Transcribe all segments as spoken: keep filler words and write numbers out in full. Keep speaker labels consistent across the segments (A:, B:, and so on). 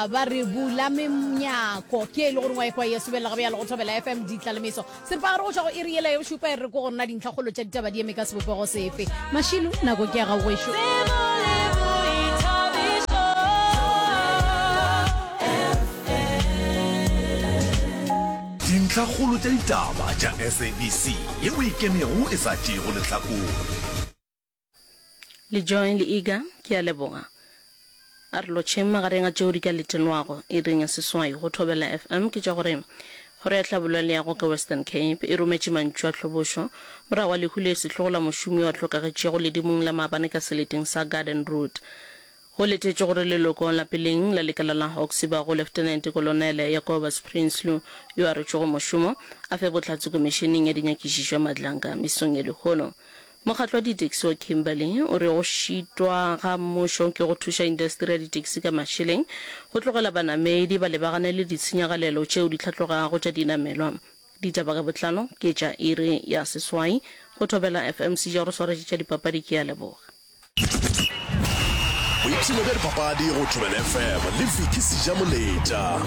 A: Ba ba re bula menyako ke e le gore wa ekwa ye sobelela gabe ya le go Thobela F M ditlalemeso. Seripagare go tšwa go iri yela ya bošupa e re ko go nna dintlhakgolo tša ditaba di eme ka sebopego sefe. Mašilu, nako ke ya gago gešo.
B: Dintlhakgolo tša ditaba tša S A B C yeo e ikemego e sa tšeego lehlakore.
C: Le Joy le Iga, ke a leboga. A re lotšheng magareng a tšeo di ka letelwago iring ya seswai go Thobela F M ke tša gore Kgoro ya Tlhabollo ya Leago ka Western Cape e rometše mantšu a tlhobošo morago ga lehu le sehlogo la mošomi yo a hlokagetšego ledimong la maabane ka seleteng sa Garden Route. Go letetšwe gore leloko la peleng la lekala la Hawks e bago Leftenente Kolonele Jacobus Prinsloo yo a rotšwego mošomo a fe bohlatse komišeneng ya dinyakišišo ya Madlanga mesong ya lehono. Mokgatlo wa ditaxi wa Kimberley o re go šitwa ga mmušo ke go thuša indasteri ya ditaxi ka mašeleng go tlogela banamedi ba lebagane le ditshenyagalelo tšeo di hlatlogago tša dinamelwa. Ditaba ka botlalo ke tša iri ya seswai go Thobela F M. Seja o re swaretše tša dipapadi ke a leboga.
B: Boipshino bja dipapadi go Thobela F M le Vicky Sejamoletša.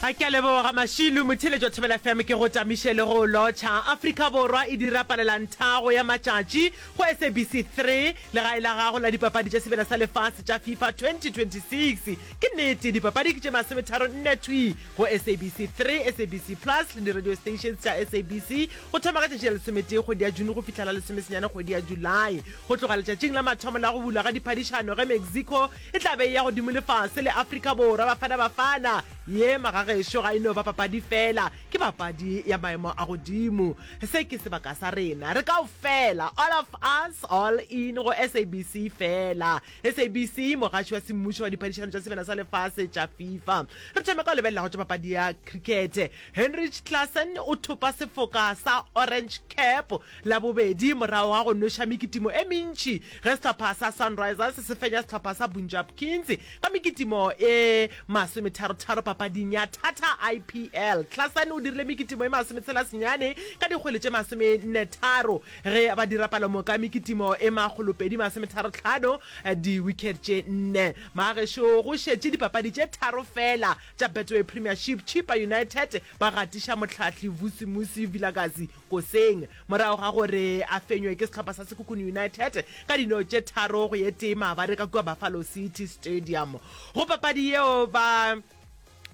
D: A ke a leboga Mašilu, motheeletši wa Thobela F M ke go tamiše le go lotšha. Afrika Borwa e dira palelanthago ya matšatši go S A B C three, legae la gago la dipapadi tša Sebjana sa Lefase tša FIFA twenty twenty-six. Ke nnete, dipapadi ke tše masometharo nne thwi go S A B C three, S A B C Plus le di-radio stations tša S A B C go thoma ka tšatši la lesometee kgwedi ya June go fihla la lesomesenyane kgwedi ya July. Go tloga letšatšing la mathomo la go bulwa ga diphadišano ge Mexico e tla be e ya godimo le fase le Afrika Borwa, Bafana Bafana ye magagešo ga e no ba papadi fela, ke papadi ya maemo a godimo. Se ke sebaka sa rena, re kaofela, all of us, all in go S A B C fela. S A B C, mogaši wa semmušo wa diphadišano tša Sebjana sa Lefase tša FIFA. Re thome ka go lebelela go tša papadi ya krikete. Heinrich Klaasen o thopa sefoka sa Orange Cap la bobedi morago ga go nweša mekitimo e mentši ge sehlopha sa Sunrisers se fenya sehlopha sa Punjab Kings ka mekitimo e masometharotharo papading ya Tata I P L. Klaasen o dirile mekitimo e masometshela senyane ka dikgwele tše masomennetharo ge ba dira palomoka mekitimo e makgolopedi masometharotlhano di-wicket tše nne. Magagešo go šetše dipapadi tše tharo fela tša Betway Premiership, Chippa United ba gatiša mohlahli Vusimusi Vilakazi Koseng morago ga gore a fenywe ke sehlopha sa Sekhukhune United ka dino tše tharo go ye tee maabane ka kua Buffalo City Stadium. Go papadi yeo ba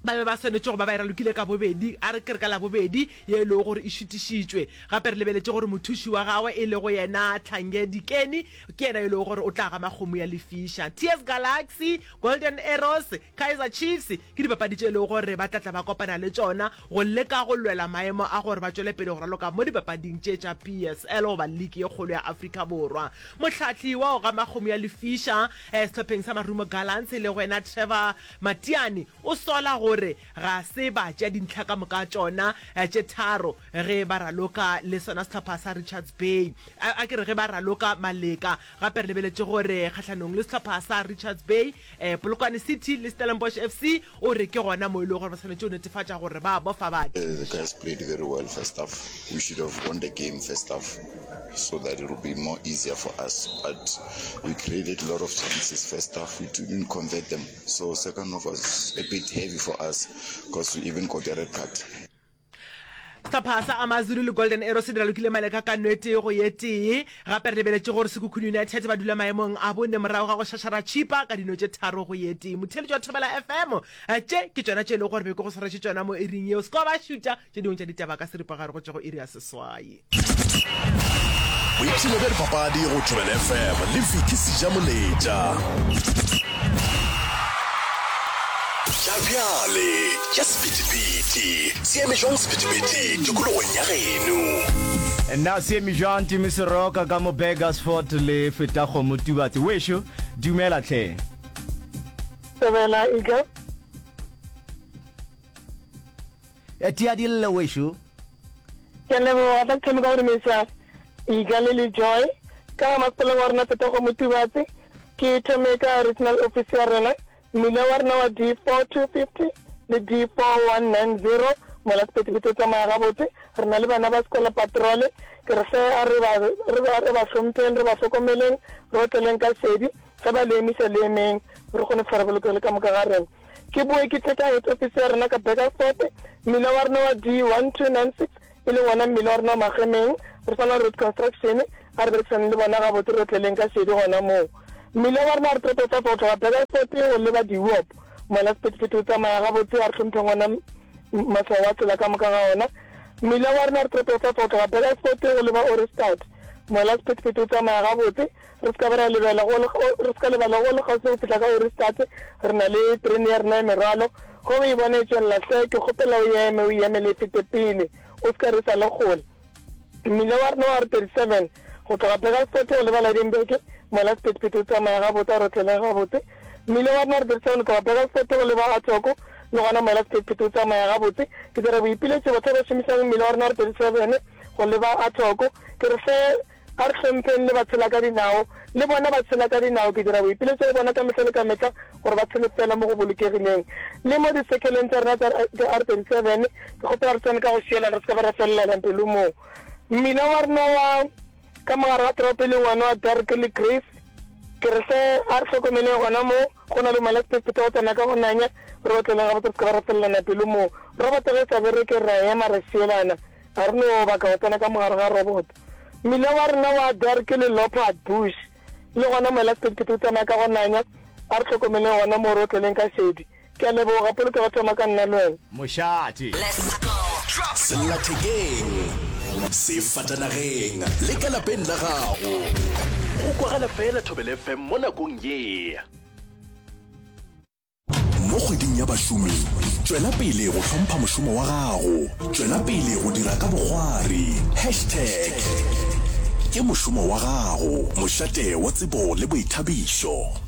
D: ba be ba swanetše go ba ba e ralokile ka bobedi, a re ke re ka Labobedi ye e lego gore e šutišitšwe. Gape re lebeletše gore mothuši wa gagwe e lego yena Tlhange Dikeni ke yena yo e lego gore o tla gama kgomo ya lefiša. T S Galaxy, Golden Arrows, Kaizer Chiefs ke dipapadi tše e lego gore ba tla tla ba kopana le tšona go leka go lwela maemo a gore ba tšwele pele go raloka mo dipapading tše tša P S L goba liki ye kgolo ya Afrika Borwa. Mohlahli wa go gama kgomo ya lefiša sehlopheng sa Marumo Gallants e lego yena Trevor Matiane o sola gore ga se ba tšea dintlha ka moka tšona tše tharo ge ba raloka le sona sehlopha sa Richards Bay. A ke re ge ba raloka Maleka. Gape re lebeletše gore kgahlanong le sehlopha sa Richards Bay, Polokwane City le Stellenbosch F C o re ke gona mo e lego gore ba swanetše go netefatša gore ba bofa ba.
E: The guys played very well first half. We should have won the game first half so that it will be more easier for us. But we created a lot of chances first half. We didn't convert them. So second half was a bit heavy for us 'cause we even got a red card.
D: Sehlopha sa AmaZulu le Golden Arrows se di ralokile Maleka ka no e tee go ye tee. Gape re lebeletše gore Sekhukhune United ba dula maemong a bone morago ga go šašara Chippa ka dino tše tharo go ye tee. Motheeletši wa Thobela F M, tše ke tšona tše e lego gore be ke go swaretše tšona mo iring yeo. Se ka wa ba šuta tše dingwe tša ditaba ka seripagare go tšwa go iri ya seswai.
B: Boipshino bja dipapadi go Thobela F M le Vicky Sejamoletša. Tša bjale tša sephethephethe se eme jwang sephethephethe tikologong ya geno?
F: Nna se eme jwang Timi Seroka ka mo Burgersfort le feta kgomo Tubatse wešo dumela hle.
G: Thobela Eagle.
F: Tia di lle wešo.
G: Ke a leboga. Tla ke thome ka go dumediša Iga le le Joy ka ga masepaleng wa rena Fetogo Motubatse. Ke thome ka regional office ya rena, mmila wa rena wa D four two fifty le D four one nine zero mola sephethephethe o tsamaya gabotse. Re na le bana ba sekolo patrole. Ke re hle a re ba, re ba, re ba hlompheng, re ba hlokomeleng, re otleleng ka šedi. Ge ba le emiša le emeng, re kgone go fihla re bolokegile ka moka ga rena. Ke boe ke tle ka head office ya rena ka Burgersfort, mmila wa rena wa D one two nine six e leng wona mmila wa rena wa Magemeng, re swana le road construction, a re berekisaneng le bona gabotse re otleleng ka šedi gona moo. Mmila wa rena wa re toropo ya go tloga Burgersfort go leba Dewop, mola sephethephethe o tsamaya gabotse, a re hlompheng ona maswao a tsela ka moka ga ona. Mmila wa rena wa re toropo ya go tloga Burgersfort go leba Ohrigstad, mola sephethephethe o tsamaya gabotse, re se ka ba ra lebela go le, re se ka lebala go le kgauswi go fihla ka Ohrigstad, re na le terene ya rena ya merwalo. Ge o e bona e tšwelela hle, ke kgopela o eme, o e emele e fete pele, o se ka re e sa le kgole. Mmila wa rena wa R thirty seven go tloga Burgersfort go leba Lydenburg, mola sephethephethe o tsamaya gabotse, a re otleleng gabotse. Mmila wa rena wa R thirty seven go tloga Burgersfort go leba Athoko, le gona mola sephethephethe o tsamaya gabotse. Ke dira boipiletšo batho ba ba šomišang mmila wa rena wa R thirty seven go leba Athoko, ke re hle a re hlompheng le batshela ka dinao, le bona ba tshela ka dinao. Ke dira boipiletšo go bona ka mehla le ka mehla gore ba tshele fela mo go bolokegileng. Le mo disekheleng tša rena tša R thirty seven, ke kgopela re tsene ka go šielana, re se ka ba ra felelana pelo moo. Mmila wa rena wa ka mogare ga toropo e leng wona wa Dirk le Grace, ke re hle a re hlokomeleng gona moo, go na le mola sephethephethe go tsena ka go nanya, re otleleng gabotse re se ka ba ra felelana pelo moo. Roboto ge e sa bereke re a ema ra šielana, ga re no baka go tsena ka mogare ga roboto. Mmila wa rena wa Dirk le Leopard Bush, le gona mola sephethephethe o tsamaya ka go nanya, a re hlokomeleng gona moo re otleleng ka šedi. Ke a leboga, polokego thoma ka nna le wena.
F: Mošate.
B: Sellathekeng, sefatanageng le ka lapeng la gago. Go kwagala fela Thobela F M mo nakong ye. Mo kgweding ya bašomi, tšwela pele go hlompha mošomo wa gago. Tšwela pele go dira ka bokgwari. Hashtag ke mošomo wa gago. Mošate wa tsebo le boithabišo.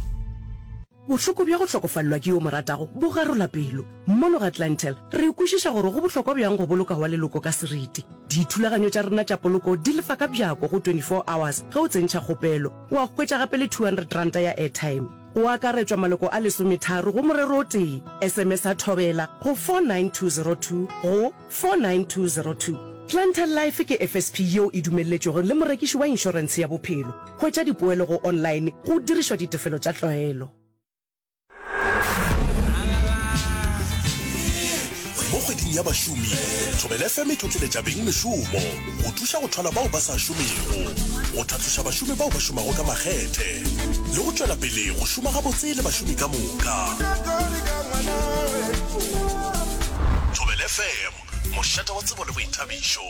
H: Bohloko bja go hlokofalelwa ke yo o mo ratago bo garola pelo. Mono ga Clientele, re kwešiša gore go bohlokwa bjang go boloka wa leloko ka seriti. Dithulaganyo tša rena tša poloko di lefa ka bjako go twenty four hours ge o tsentšha kgopelo. Wa hwetša gape le two hundred ranta ya airtime. Go akaretšwa maloko a lesometharo go morero o tee. S M S a Thobela go four nine two zero two go four nine two zero two. Clientele Life ke F S P yeo e dumelletšwego le morekiši wa inšorentshe ya bophelo. Hwetša dipoelo go online go dirišwa ditefelo tša tlwaelo.
B: Mo kgweding ya bašomi, Thobela F M e tlotleletša bengmešomo go thuša go thwala bao ba sa šomego, go tlhatloša bašomi bao ba šomago ka makgethe le go tšwela pele go šoma gabotse le bašomi ka moka. Thobela F M, mošate wa tsebo le boithabišo.